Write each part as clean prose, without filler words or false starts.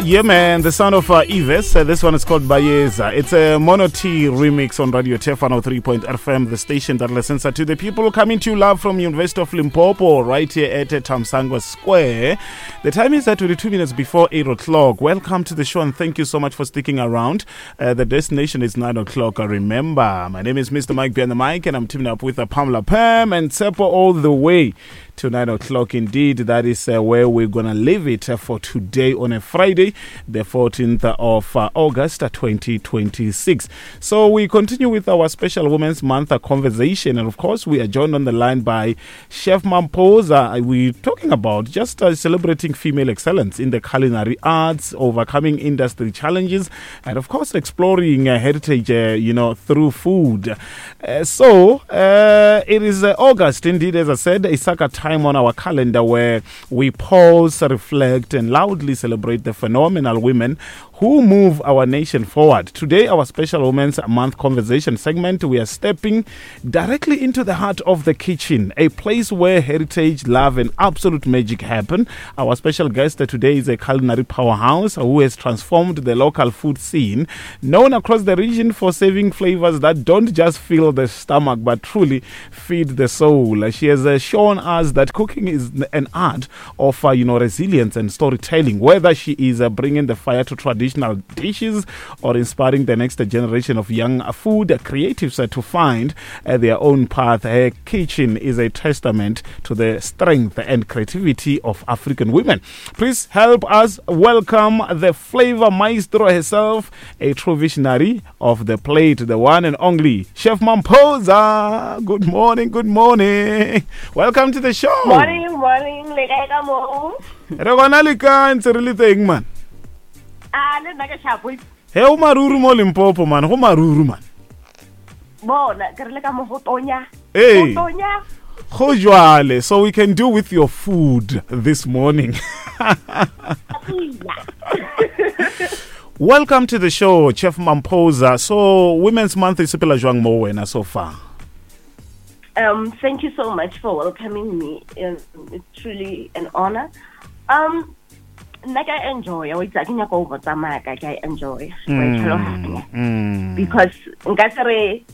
Yeah, man, the sound of Yves. This one is called Bayeza. It's a Mono T remix on Radio Tef 103.5 FM, the station that listens to the people coming to you live from University of Limpopo, right here at Thamsanqa Square. The time is at 22 minutes before 8 o'clock. Welcome to the show and thank you so much for sticking around. The destination is 9 o'clock. Remember, my name is Mr. Mike behind the mic, and I'm teaming up with Pamela Pam and Tsepo all the way to 9 o'clock. Indeed, that is where we're going to leave it for today on a Friday, the 14th of August, 2026. So we continue with our special Women's Month conversation, and of course, we are joined on the line by Chef Mampoza. We're talking about just celebrating female excellence in the culinary arts, overcoming industry challenges, and of course, exploring heritage, through food. So it is August, indeed, as I said, a sacred time on our calendar where we pause, reflect, and loudly celebrate the phenomenal women who move our nation forward. Today, our special Women's Month conversation segment, we are stepping directly into the heart of the kitchen, a place where heritage, love, and absolute magic happen. Our special guest today is a culinary powerhouse who has transformed the local food scene, known across the region for serving flavors that don't just fill the stomach, but truly feed the soul. She has shown us that cooking is an art of resilience and storytelling, whether she is bringing the fire to traditional dishes or inspiring the next generation of young food creatives to find their own path. Her kitchen is a testament to the strength and creativity of African women. Please help us welcome the flavor maestro herself, a true visionary of the plate, the one and only Chef Mampoza. Good morning, good morning. Welcome to the show. Morning, morning. Le kae ka moo? Re gona le kae ntse re le teng, man? A, le nna ke sharp. He, o maruru mo Limpopo, man. Go maruru, man. Bona, ke re le ka mo go tonya. Hey. Go tonya. Go jwale, so we can do with your food this morning. Welcome to the show, Chef Mampoza. So, Women's Month is sepela jwang mo wena so far? Thank you so much for welcoming me. It's truly an honor. Nna ke a enjoy, wa itse, ha ke nyaka ho botsa maka, ke a enjoy. Wa e tlhaloganya. Because nka se re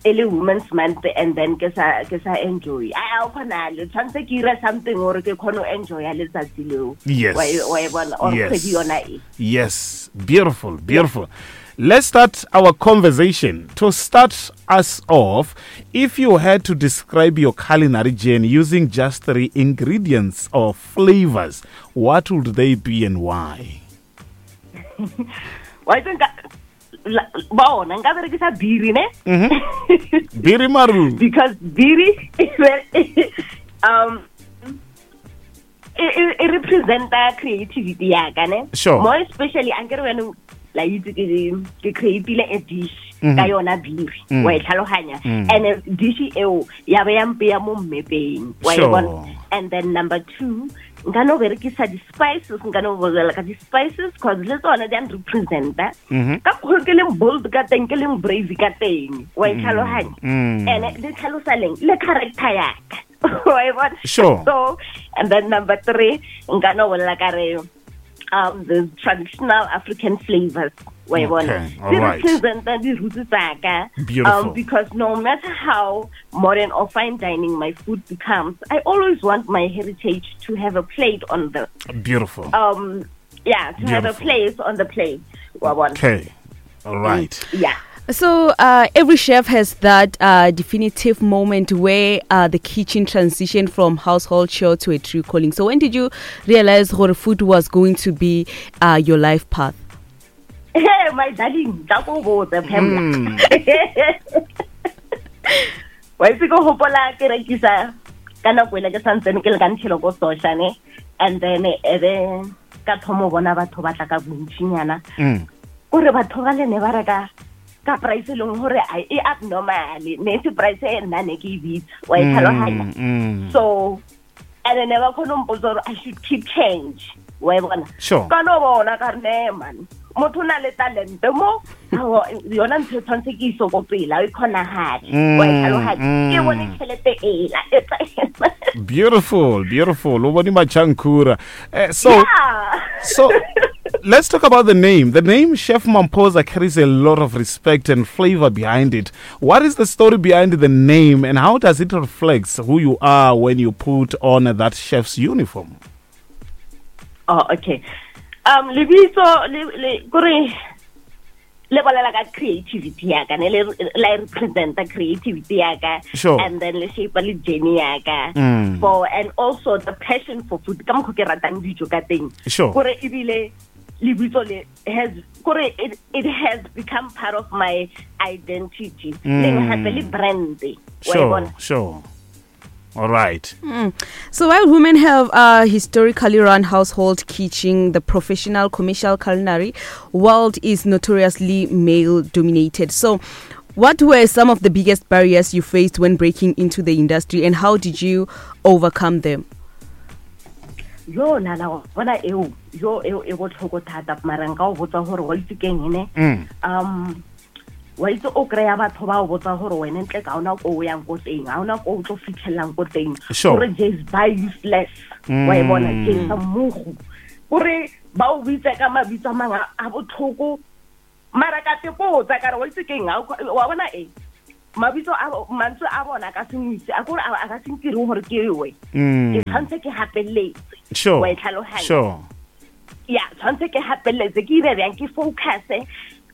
e le Women's Month and then ke sa enjoy. A, o kgona le, tshwanetse ke ire something hore ke kgone ho enjoy letsatsi leo. Yes. Wa e bona, or Yes. kgwedi yona e. Yes. Beautiful, beautiful. Let's start our conversation. To start us off, if you had to describe your culinary journey using just 3 ingredients or flavors, what would they be and why? Why don't I, bona, nka berekisa biri, ne? Biri maru. Because biri, e representa creativity ya ka, ne? Sure. More especially, ankere wena la itse ke create-ile a dish ka yona biri, wa e tlhaloganya. And dish eo ya be ya mpeya mo mmepeng, wa e bona. And then number 2, nka no berekisa di-spices, nka no bolela ka di-spices, 'cause le tsona di a representa. Ka mokgwa ke leng bold ka teng, ke leng brave ka teng, wa e tlhaloganya. And le tlhalosa leng, le character ya ka. Wa e bona? Sure. So, and then number 3, nka no bolela ka re, the traditional African flavors. Wa e bona? Okay, all Di right. representa di-roots tsa ka. Beautiful. Because no matter how modern or fine dining my food becomes, I always want my heritage to have a plate on the... Beautiful. Yeah, to have a Beautiful. place on the plate. Wa bona? Okay, all right. Yeah. So every chef has that definitive moment where the kitchen transitioned from household chore to a true calling. So when did you realize gore food was going to be your life path? Hey, my darling, tla ko botse, Pamela. Wa itse ke hopola ke rekisa ka nako ele ke santsane ke le ka ntšhelo ko Sosha, ne? And then e be ka thomo bona batho ba tla ka bontšinyana. Kore batho ba le ne ba reka ka price e leng hore a e abnormal, ne se price e nna ne ke e bitsa, wa e tlhaloganya. So, and then ba kgone ho mpotsa hore I should keep change, wa e bona? Sure. Ka no bona ka re, ne, man, motho o na le talente mo, ha, yona ntho e tshwanetse ke iso ko pele, ha e kgonahale, wa e tlhaloganya. Ke bone tjhelete ela, e tla- Beautiful, beautiful. O bone machankura. So, Yeah. Let's talk about the name. The name Chef Mampoza carries a lot of respect and flavor behind it. What is the story behind the name, and how does it reflect who you are when you put on that chef's uniform? Oh, okay. Lebitso le le kore le bolela ka creativity ya ka, ne le la e representa creativity ya ka. And then le shape le journey ya ka. For and also the passion for food, ka mokgo ke ratang dijo ka teng. Kore ebile lebitso le has kore it has become part of my identity. Le gape le brand. Wa e bona? Sure. All right. So while women have historically run household kitchen, the professional commercial culinary world is notoriously male dominated. So what were some of the biggest barriers you faced when breaking into the industry, and how did you overcome them? Yo, nana, wa bona eo, yo, eo e botlhoko thata, mara nka o botsa gore wa itse keng ene? Wa itse o kry-a batho ba o botsa gore wena ntle ka ona ko o yang ko teng, ga ona ko o tlo fitlhelelang ko teng. Gore jase ba useless. Wa e bona, jase mmogo. Gore ba o bitse ka mabitso a mangwe a botlhoko, mara ka te potsa ka re wa itse keng, wa bona e mabitso a mantswe a bona ka sengwise a kore a ka se ntire gore ke we. Ke tshwanetse ke hapeletse. Wa e tlhaloganya? Sure. Ya, tshwanetse ke hapeletse, ke ire bjang, ke focus-e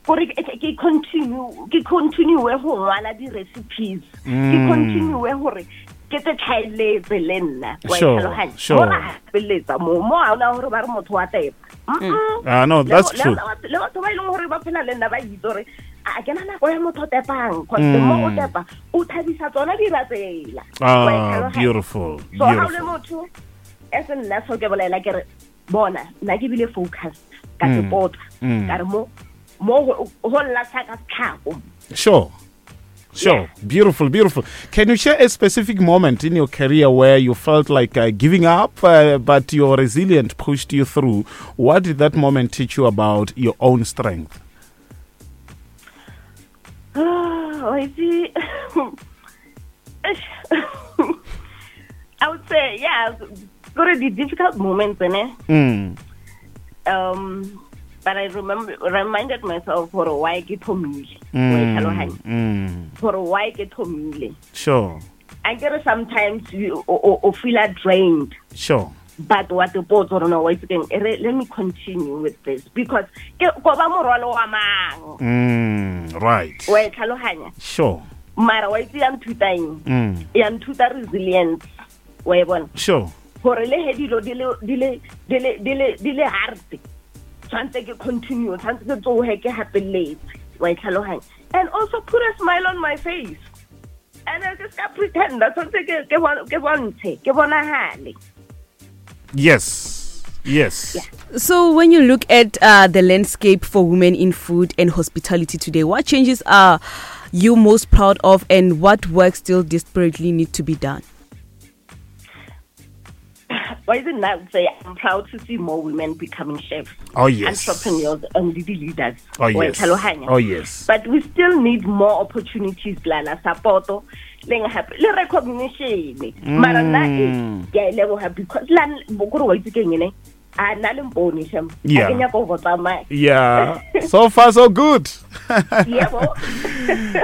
gore ke continue, ke continue go ngwala di-recipes. Ke continue gore ke tse tlhaeletse le nna. Wa e tlhaloganya? Mo ra hapeletsa mo, mo ha ona gore ba re motho wa tepa. Mm-mm. No, that's true. Le batho ba e leng gore ba phela le nna ba itse gore a ke na nako ya motho o tepang, cause the more o tepa, o thabisa tsona dira tsela. Wa e tlhaloganya? Beautiful, So ha o le beautiful. motho, e se nna so ke bolela ke re, bona, nna ke bile focused ka tepotsa. Ka re mo go lla sa ka setlhako. Sure. Sure. Yeah. Beautiful, beautiful. Can you share a specific moment in your career where you felt like giving up, but your resilience pushed you through? What did that moment teach you about your own strength? Oh, I see. I would say, yeah, go to the difficult moments, ne? But I reminded myself for why ke thomile. Wa e tlhaloganya? For why ke thomile. I get it sometimes you o feel drained. But what the board or no, wait again, let me continue with this because ke ko ba morwalo wa mang. Wa e tlhaloganya? Mara wa itse ya nthuta eng? Ya nthuta resilience. Wa e bona? Gore le he dilo di le, di le, di le, di le, di le hard. Tshwantse ke continue, tshwantse ke tsohe ke hapeletse. Wa e tlhaloganya? And also put a smile on my face. And I just can't pretend. That's what ke bontshe, ke bonahale. Yes. Yes. Yeah. So when you look at the landscape for women in food and hospitality today, what changes are you most proud of, and what work still desperately need to be done? Why is it now say I'm proud to see more women becoming chefs, Oh, yes. entrepreneurs, and leaders. Oh, yes. Tlhaloganya. Oh, yes. But we still need more opportunities, Lala, support, le hape, le recognition. Mara nna e, ke a e leboha because la, bo kore wa itse keng ene? A nna le mpone, shem. A ke nyaka go tsamaya. Yeah. So far, so good. Yeah, bo.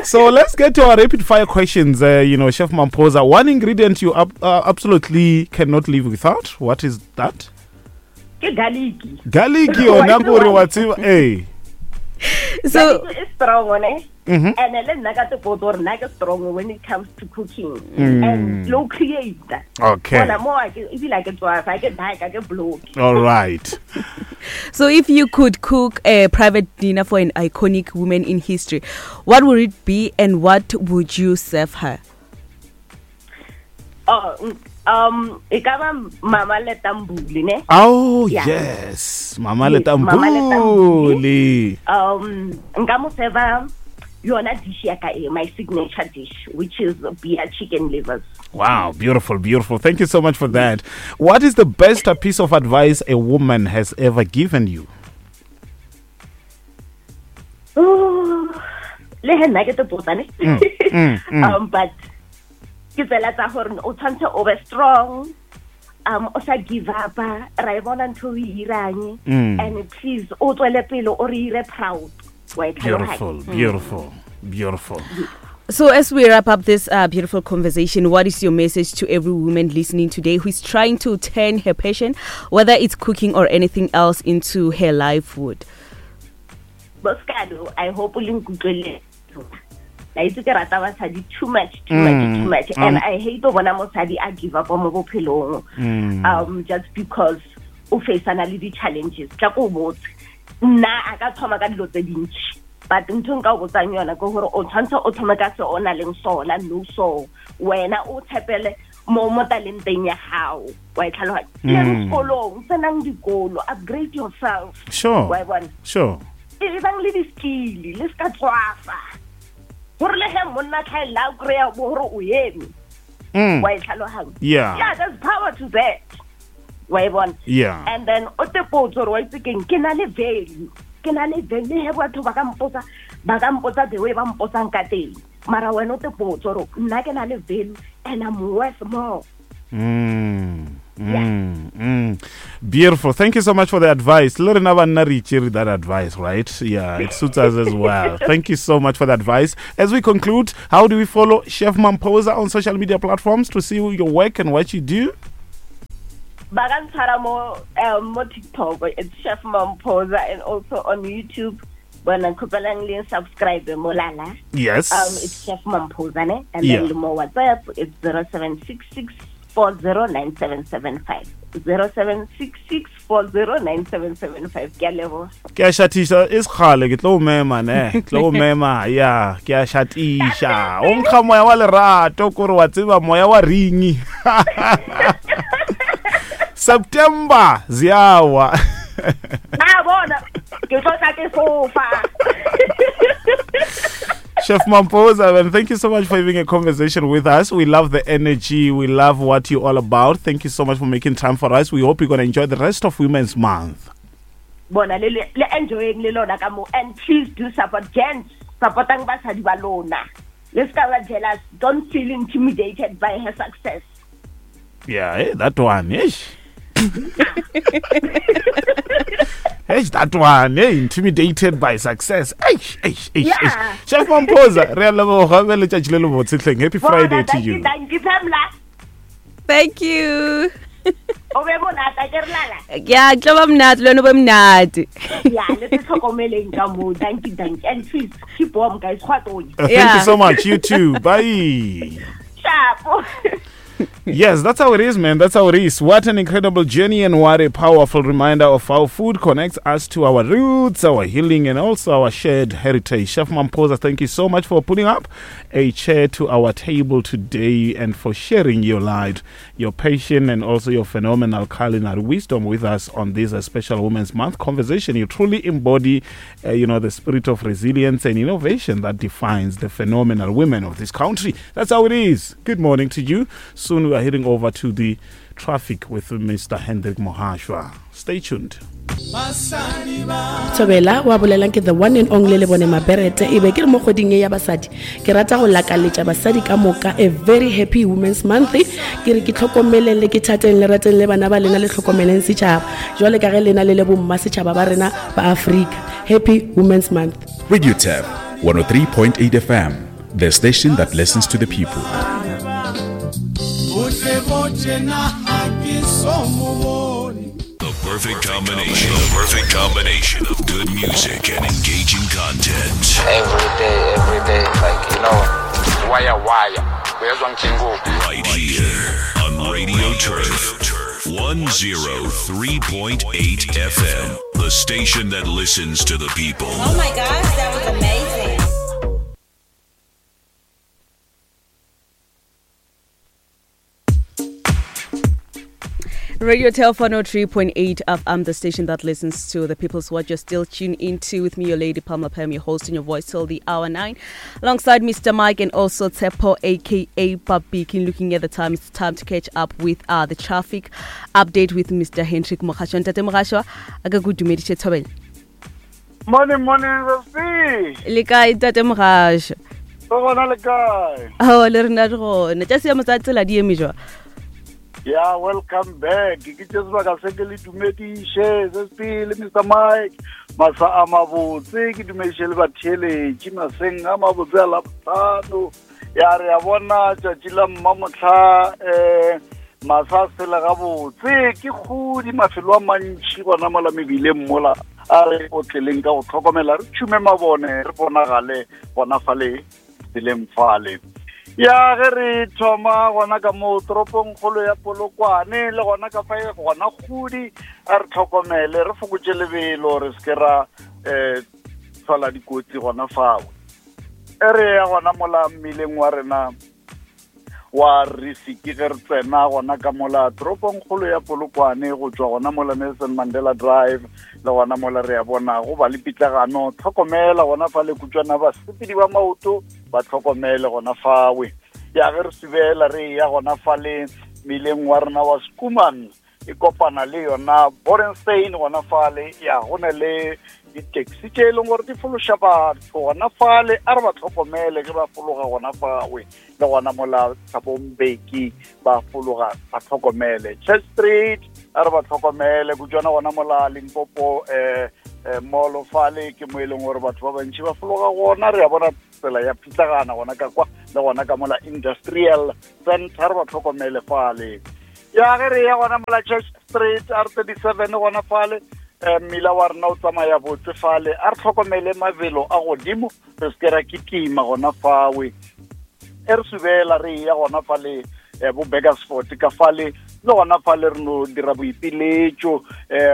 So let's get to our rapid fire questions. Chef Mampoza, one ingredient you absolutely cannot live without. What is that? Ke garlic. Garlic, yo, Why nako re do wa I? tseba, eh. So garlic is strong, ne? And le nna ka te potso gore nna ke strong when it comes to cooking and low create. Bona mo a ke, ebile a ke tswafa, a ke die, a ke block. All right. So if you could cook a private dinner for an iconic woman in history, what would it be and what would you serve her? Oh, e ka ba Mama Letta Mbulu, ne? Oh, Yeah. yes. Mama Yes, Letta Mama Letta Mbulu. Mbulu. Nka mo serve yona dish ya ka e, my signature dish, which is beer chicken livers. Wow, beautiful, beautiful. Thank you so much for that. What is the best piece of advice a woman has ever given you? Oh, le he nna ke te botsa, ne? But ke tsela tsa gore o tshwanetse o be strong. Um o sa give up ra e bona ntho o e irang mm. and please o tswele pele o re ire proud wa e beautiful beautiful beautiful So, as we wrap up this uh, beautiful conversation, what is your message to every woman listening today who is trying to turn her passion, whether it's cooking or anything else, into her livelihood? Boskado, I hope o le nkutlwele la itse ke rata basadi too much too much mm. too much and um, i hate go bona mosadi a give up mo bophelong mm. um just because o faceana le di-challenges tla ko botse nna a ka thoma ka dilo tse dintši but ntho nka o botsang yona ke gore o tshwanetse o thome ka se o na leng sona no so wena o tshepele mo mo talenteng ya gago wa e tlhaloganya mm. le sekolong tsenang dikolo upgrade yourself sure wa e bona sure e bang le di-skill le se ka tswafa gore le ge monna tlhaelela a kry-a bo gore o eme mm. wa e tlhaloganya yeah yeah there's power to that wa e bona yeah and then o te potso gore wa itse keng ke na le value ke na le value le he batho ba ka mpotsa ba ka mpotsa the way ba mpotsang ka teng mara wena o te potso gore nna ke na le value and I'm worth more Mm, mm, mm. Beautiful. Thank you so much for the advice. Le rena banna re itšere that advice, right? Yeah, it suits us as well. Thank you so much for the advice. As we conclude, how do we follow Chef Mampoza on social media platforms to see your work and what you do? ba ka ntshwara mo um, mo tiktok it's chef mampoza and also on youtube bona kgopelang le subscribe mo lala yes um it's chef mampoza ne and yeah. then le mo whatsapp it's 0766 409775 0766 409775 ke a leboga ke a šathiša e sekgale ke tlo o mema ne ke tlo o mema ya ke a šatiša o nkga moya wa lerato kore wa tseba moya wa ringi september ziawa na bona ke tlo tla ke fofa Chef Mampoza, and thank you so much for having a conversation with us. We love the energy. We love what you're all about. Thank you so much for making time for us. We hope you're going to enjoy the rest of Women's Month. Bona le le enjoying le lona ka mo and please do support gents supportang basadi ba lona le ska ba jealous don't feel intimidated by her success Yeah, hey, that one. Eish. Hey, that one, hey, intimidated by success. Eish, eish, eish, yeah. eish. Chef Mampoza, re a leboga be letšatši le le botse hleng. Happy Friday to you. Thank you, Pamela. Thank you. O be monate ke re lala. Ya, tlo ba monate, le wena o be monate. Ya, le se tlhokomeleng ka mo. Thank you, thank you. And please keep warm guys. Go a tonya. Uh, thank you so much. You too. Bye. Sharp. Yes, that's how it is, man. That's how it is. What an incredible journey and what a powerful reminder of how food connects us to our roots, our healing, and also our shared heritage. Chef Mampoza, thank you so much for putting up a chair to our table today and for sharing your light, your passion, and also your phenomenal culinary wisdom with us on this uh, special Women's Month conversation. You truly embody, uh, you know, the spirit of resilience and innovation that defines the phenomenal women of this country. That's how it is. Good morning to you. Soon we are heading over to the traffic with Mr. Hendrik Mohashwa. Stay tuned. Thobela wa bolelang ke the one and only le bone maberete e be ke re mo kgweding e ya basadi ke rata go lakaletša basadi ka moka a very happy women's month ke re ke tlhokomeleng le ke thateng le rateng le bana ba lena le tlhokomeleng setšhaba jwale ka ge lena le le bomma setšhaba ba rena ba Afrika happy women's month Radio Tap 103.8 FM the station that listens to the people. The perfect combination. The perfect combination of good music and engaging content. Every day, every day, like you know, wire wire. Right here on Radio Turf 103.8 FM, the station that listens to the people. Oh my gosh, that was amazing. Radio Tel 103.8 FM, the station that listens to the people's what you're still tuned into with me, your lady Pamela Pam, your host and your voice till the hour 9. Alongside Mr. Mike and also Tsepo, aka Papi King. Looking at the time, it's time to catch up with uh, the traffic update with Mr. Hendrik Mogasho. Ntate Mogasho, a ka go dumediše thobela. Morning, morning, Rosie. Le kae Ntate Mogasho? Re gona le kae? Ao, le rena re gona. Tša seemo sa tsela di eme jwang? Ya, welcome back. Ke tše sebaka se ke le dumediše se pele, Mr Mike. Masa a mabotse, ke dumediše le batheeletši maseng a mabotse a Labohlano. Ya, re a bona tšatši la mmamohla, masa a sele gabotse, ke kgodi mafelo a mantši gona mola mebileng mola. A re otleleng ka go tlhokomela, re tšhume mabone, re bonagale gona fale tseleng fale. Ya, ge re thoma gona ka mo toropong kgolo ya Polokwane, le gona ka fa gona kgodi, a re tlhokomele, re fokotše lebelo, re se ke ra tlhola dikotsi gona fao. E re ya gona mola mmileng wa rena wa Risiki, ge re tsena gona ka mola toropong kgolo ya Polokwane, go tšwa gona mola Nelson Mandela Drive, le gona mola re ya bona go ba le pitlagano. Tlhokomela gona fa le kutswana, basepedi ba maoto ba tlhokomele gona fawe. Ya, ge re subela re ya gona fa le mmileng wa rena wa Skuman, e kopana le yona Borenstein gona fale. Ya, go na le di-taxi tše e leng gore di fološa batho gona fale, a re ba tlhokomele ge ba fologa gona fawe, le gona mola Thabombeki ba fologa, ba tlhokomele. Church Street, a re ba tlhokomele kutswana gona mola Limpopo mall fale, ke mo e leng gore batho ba bantši ba fologa gona. Re a bona tsela ya pitlagana gona ka kwa, le gona ka mola Industrial Center, re ba tlhokomele fale. Ya, ge re ya gona mola Church Street, R37 gona fale, mmila wa rena o tsamaya botse fale, a re tlhokomele mabelo a godimo, re se ke ra kitima gona fawe. E re subela re ya gona fale, bo Burgersfort ka fale, le gona fale re no dira boipiletšo,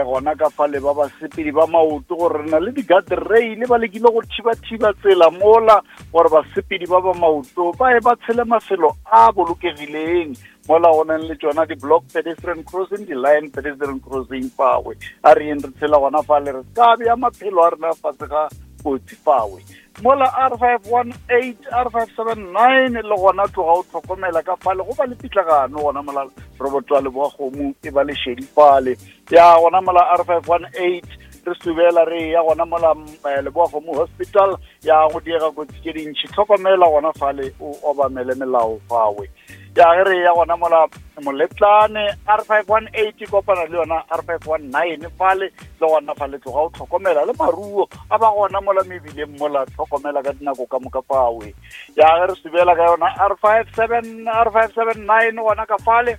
gona ka fale ba basepedi ba maoto, gore re na le di-guard rail, ba lekile go thiba-thiba tsela mola gore basepedi ba ba maoto ba e ba tshele mafelo a bolokegileng, mola go nang le tšona di-block pedestrian crossing, di-line pedestrian crossing fawe. A re yeng re tshela gona fale, re ka bea maphelo a rena fase ga kotsi fawe. Mola R518, R579, le gona tloga o tlhokomela ka fale, go ba le pitlagano gona mola Robotwa le Boagomo, e ba le šedi fale. Ya, gona mola R518 re subela re ya gona mola Leboagomo Hospital, ya go diega kotsi tše dintšhi, tlhokomela gona fale, o obamele melao fawe. Ya, ge re ya gona mola Moletlane, R518 kopana le yona R519 fale, le gona fale tloga o tlhokomela, le maruo a ba gona mola mebileng mola, tlhokomela ka dinako ka moka fawe. Ya, ge re subela ka yona R57, R579 gona ka fale,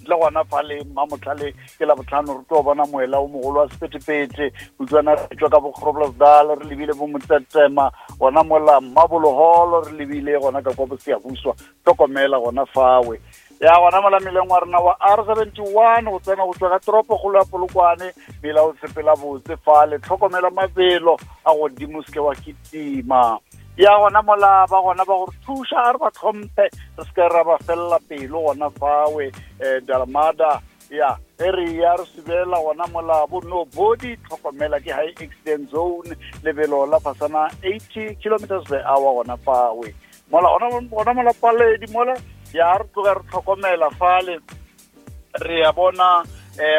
le gona fale Mmamotlhale ke la botlhano, re tlo bona moela o mogolo wa sephethephethe utswana re tšwa ka bo Groblersdal, re lebile bo Motsetema gona mola Mmaboloholo, re lebile gona ka kwa Bosiyabuswa, tlhokomela gona fawe. Ya, gona mola meleng wa rena wa R71 go tsena go tswa ka toropo kgolo ya Polokwane, mela o sepela botse fale, tlhokomela mabelo a godimo, se ke wa kitima. Ya, gona mola ba gona ba gore thuša, a re ba tlhomphe, re se ke ra ba felela pelo gona fawe, Dalmada. Ya, ge re ya re subela gona mola bo no body, tlhokomela ke high accident zone, lebelo la fasana 80 kilometers per hour gona fawe. Mola gona mola Paledi mola, ya re tloga re tlhokomela fale, re ya bona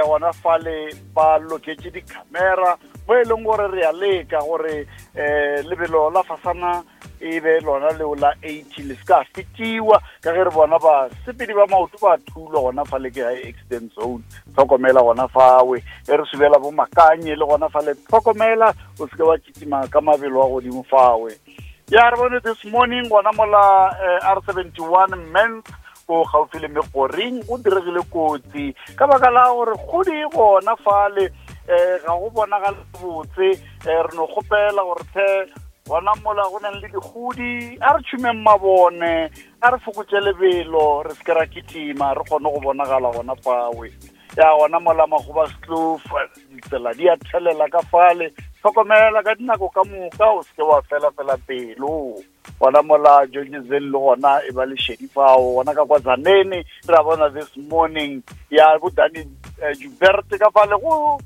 gona fale ba loketše di-camera mo e leng gore re ya leka gore lebelo la fasana e be lona leo la 80, le se ka fetiwa, ka ge re bona basepedi ba maoto ba thulwa gona fale, ke high accident zone, tlhokomela gona fawe. E re subela bo Makanye, le gona fale tlhokomela, o se ke wa kitima ka mabelo a godimo fawe. Ya, re bone this morning gona mola R71 Mens ko gaufi le Megoring go diregile kotsi ka baka la gore kgodi gona fale, ga go bonagale botse. Re no kgopela gore tlhe gona mola go nang le dikgodi, a re tšhumeng mabone, a re fokotše lebelo, re se ke ra kitima, re kgone go bonagala gona fawe. Ya, gona mola Magoba Stlof ditsela di a thelela ka fale, tlhokomela ka dinako ka moka, o se ke wa fela fela pelo. Gona mola Georgesville le gona e ba le šedi fao, gona ka kwa Zanene re a bona this morning, ya bo Dani Jubert ka fale go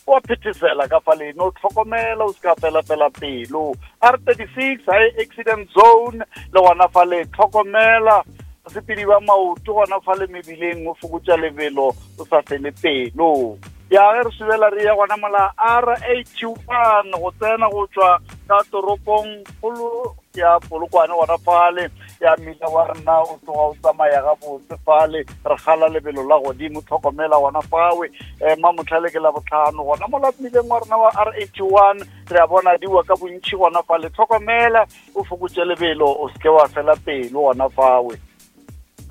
wa phethesela ka fale, no tlhokomela, o se ka fela fela pelo. R36 high accident zone, le gona fale tlhokomela basepedi ba maoto gona fale mebileng, o fokotša lebelo, o sa fele pelo. Ya ge re subela re ya gona mola R81 go tsena go tšwa ka toropong kgolo ya Polokwane gona fale, ya mmila wa rena o tloga o tsamaya gabotse fale, re gala lebelo la godimo, tlhokomela gona fawe. Um mamotlhale ke la botlhano gona mola mmileng wa rena wa R81, re a bona diwa ka bontšhi gona fale, tlhokomela o fokotše lebelo, o seke wa fela pelo gona fawe.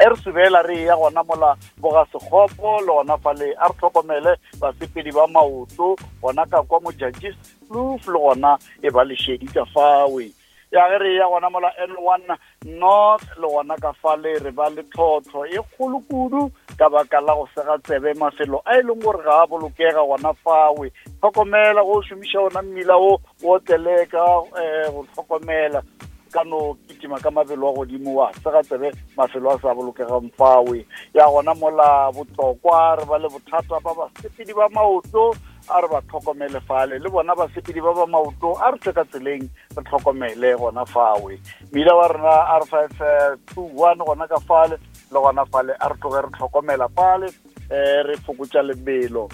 E re subela re ya gona mola boga sekgopo le gona fale, a re tlhokomele basepedi ba maoto gona ka kwa Mojajis Kloof, le gona e ba lešedi ka fawe. Ya ge re ya gona mola N1 North le gona ka fale re ba le tlhotlho e kgolo kudu ka baka la go sega tsebe mafelo a e leng gore ga a bolokega gona fawe. Tlhokomela go šomiša ona mmila o o otleleka um go tlhokomela ka no kitima ka mabelo a godimo wa sega tsebe mafelo a sa bolokegang fawe. Ya gona mola Botlokwa re ba le bothata ba basepedi ba maoto, a re ba tlhokomele fale, le bona basepedi ba ba maoto a re tswe ka tseleng re tlhokomele gona fawe. Mmila wa rena R 521 gona ka fale le gona fale a re tloge re tlhokomela fale, um re fokotša lebelo.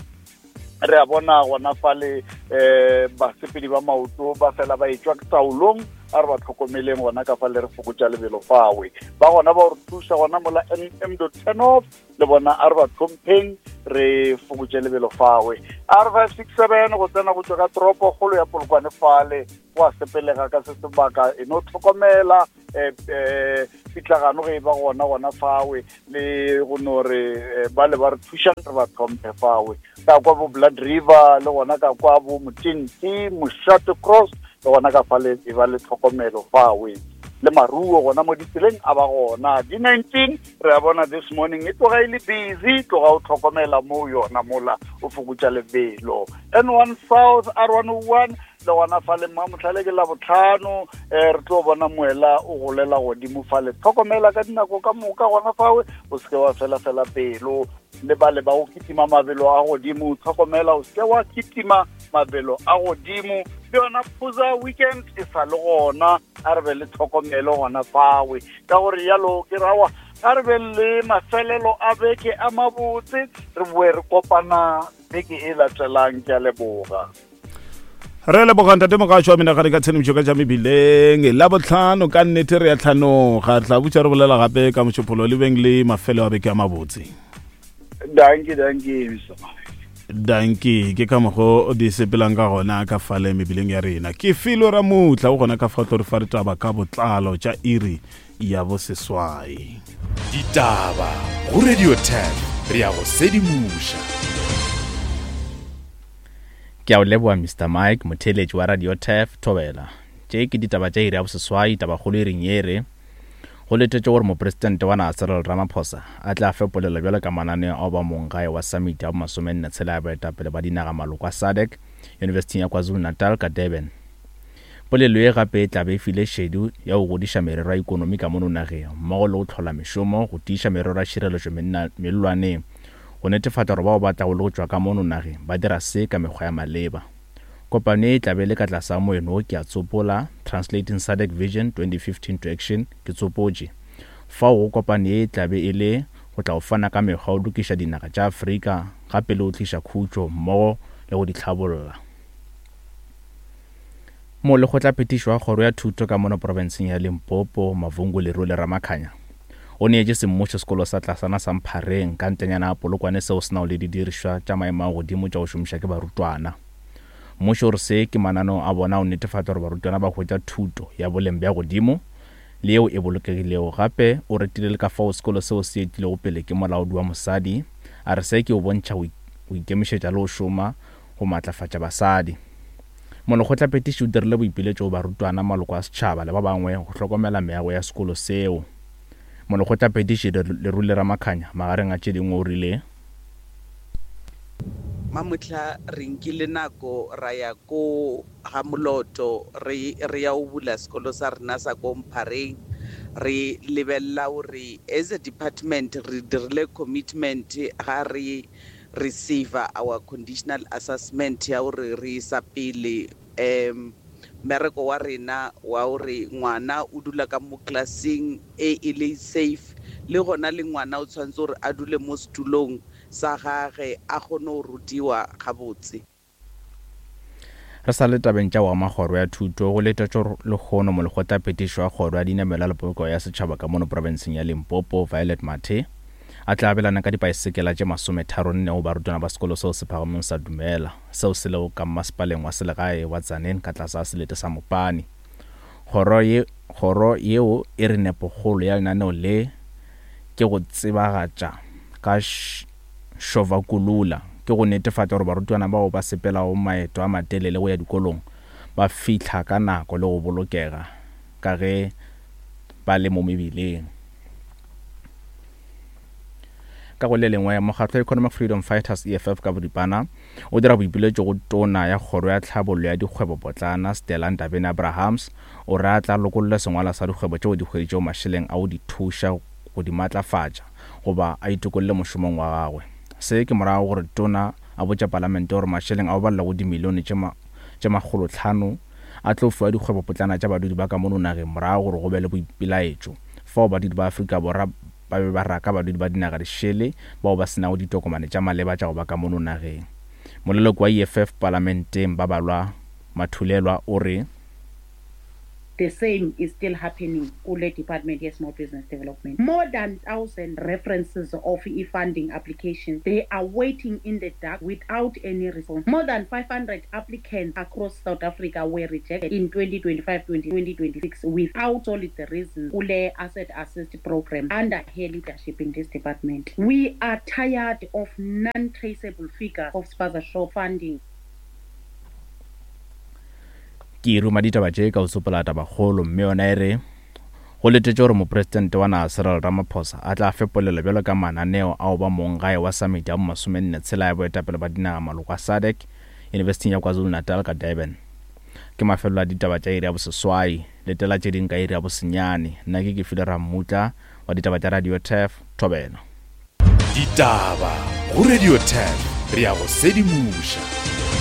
Re a bona gona fale um basepedi ba maoto ba fela ba etšwa taolong, a re ba tlhokomeleng gona ka fale, re fokotša lebelo fawe. Ba gona ba re thuša gona mola M dot turn off, le bona a re ba tlhompheng, re fokotše lebelo fawe. R 567 go tsena go tšwa ka toropo kgolo ya Polokwane fale, go a sepelega ka se sebaka, e no tlhokomela um pitlagano ge e ba gona gona fawe, le go no re ba le ba re thušang re ba tlhomphe fawe. Ka kwa bo Blood River le gona ka kwa bo Motenti Moshate Cross le gona ka fale e ba le tlhokomelo fawe, le maruo gona mo ditseleng a ba gona. D19 re a bona this morning e tloga e le busy, tloga o tlhokomela mo yona mola o fokotša lebelo. N1 South R101 le gona fale mmamotlhale ke la botlhano, um re tlo bona moela o golela godimo fale, tlhokomela ka dinako ka moka gona fawe, o seke wa fela fela pelo. Le bale ba go kitima mabelo a godimo, tlhokomela o seke wa kitima mabelo a godimo. Le yona Phuza weekend e sa le gona, a re be le tlhokomelo gona fawe. Ka gore yalo ke rawa, a re be le mafelelo a beke a mabotse, re boe re kopana beke e latelang. Ke a leboga. Re leboga ntate Mogašo wa menagane ka tshedimošo ka tša mebileng la botlhano. Ka nnete re ya tlhanoga, tla butša re bolela gape ka mošupolo. Le beng le mafelo a beke a mabotse. Danki, danki. Danki. Ke ka mokgo di sepelang ka gona ka fale mebileng ya rena. Ke felo ra mutla o gona ka fa tlo re fa ditaba ka botlalo tša iri ya boseswai. Ditaba go Radio 10, re ya go sedimoša. Ke a o leboga Mr Mike, motheeletši wa Radio Turf, Thobela. Tše ke ditaba tša iri ya boseswai, tabakgolo iring ye re, Go letetšwe gore Mopresidente wa naga Cyril Ramaphosa a tle a fe polelo bjalo ka mananeo a go ba monggae wa Samiti ya bomasomenne tshela ya baetapele ba dinaga maloko a SADC Yunibesithing ya KwaZulu-Natal ka Durban. Polelo ye gape e tla be e file šedi ya go godiša merero ya ikonomi ka mono nageng mmogo le go hlola mešomo, go tiiša merero ya tšhireletšo mellwaneng, go netefatša gore bao ba tlago le go tšwa ka mono nageng ba dira se ka mekgwa ya maleba. Kopano ye e tla be e le ka tlase ga moeno wo ke a tsopola, Translating SADC Vision 2015 to Action, ke tsopotše. Fao go kopano ye e tla be e le go tla go fana ka mekgwa ya go lokiša dinaga tša Afrika gape le go tliša khutšo mmogo le go di hlabolla. Molekgotlaphethiši wa Kgoro ya Thuto ka mono profenseng ya Limpopo, Mavhungu Lerule Ramakhanya, o neetše semmušo sekolo sa tlasana sa Mphareng ka ntlenyana ya Polokwane seo se nago le didirišwa tša maemo a godimo tša go šomiša ke barutwana. Mmušo o re se ke mananeo a bona a go netefatša gore barutwana ba hwetša thuto ya boleng bja godimo le yeo e bolokegilego. Gape o retile le ka fao sekolo seo se etilego pele ke molaodi wa mosadi, a re se ke go bontšha go ikemišetša le go šoma go matlafatša basadi. Molekgotlaphethiši o dirile boipiletšo go barutwana, maloko a setšhaba le ba bangwe go hlokomela meago ya sekolo seo. Molekgotlaphethiši Lerule Ramakhanya magareng a tše dingwe o rile. Mamohla re nkile nako ra ya ko ga Moloto re re ya o bula sekolo sa rena sa ko Mphareng. Re lebelela gore as a department re dirile commitment ga re receiver our conditional assessment ya gore re isa pele um mmereko wa rena wa gore ngwana o dula ka mo classeng e e le safe, le gona le ngwana o tshwanetse gore a dule mo setulong. sa gage a kgone go rutiwa gabotse. Re sa le tabeng tša go ama kgoro ya thuto, go letetšwe lehono molekgotlaphethiši wa kgoro ya dinamelwa le polokego ya setšhaba ka mono profenseng ya Limpopo, Violet Mathe, a tla abelana ka dipaesekela tše masometharonne go barutwana ba sekolo seo se phagameng sa Dumela, seo se lego ka mmasepaleng wa selegae wa Tzaneen ka tlase ga selete sa Mopani. Kgoro ye, kgoro yeo e re nepokgolo ya lenaneo le ke go tsebagatša ka Šovakulula ke go netefatša gore barutwana bao ba sepelago maeto a matelele go ya dikolong ba fihla ka nako le go bolokega ka ge ba le mo mebileng. Ka go le lengwe, mokgatlo wa Economic Freedom Fighters, EFF ka boripana, o dira boipiletšo go Tona ya Kgoro ya Tlhabollo ya Dikgwebopotlana, Stella Ndabeni-Abrahams, o re a tla lokolle sengwalwa sa dikgwebo tšeo di hweditšego mašeleng a go di thuša go di matlafatša goba a itokolle mošomong wa gagwe. Se ke morago gore Tona a botše Palamente gore mašeleng a go balela go dimilione tše tše makgolotlhano a tlo fiwa dikgwebopotlana tša badudi ba ka mono nageng morago gore go be le boipelaetšo fao badudi ba Afrika Borwa ba be ba raka badudi ba dinaga dišele bao ba se nago ditokomane tša maleba tša go ba ka mono nageng. Moleloko wa EFF Palamenteng Babalwa Mathulelwa o re, The same is still happening kule department ye small business development. More than 1000 references of e-funding applications, they are waiting in the dark without any response. More than 500 applicants across South Africa were rejected in 2025-2026 without solid reasons kule asset assist program under her leadership in this department. We are tired of non-traceable figures of spaza shop funding. Ke ruma ditaba tše ka go tsopola tabakgolo mme yona e re, Go letetšwe gore Mopresidente wa naga Cyril Ramaphosa a tla fe polelo bjalo ka mananeo a go ba monggae wa Samiti ya bomasomenne tshela ya boetapele ba dinaga maloko a SADC Yunibesithing ya KwaZulu-Natal ka Durban. Ke mafelelo a ditaba tša iri ya boseswai. Letela tše ding ka iri ya bosenyane. Nna ke Kefilwe Rammutla wa ditaba tša Radio Turf, Thobela. Ditaba go Radio Turf, re a go sedimoša.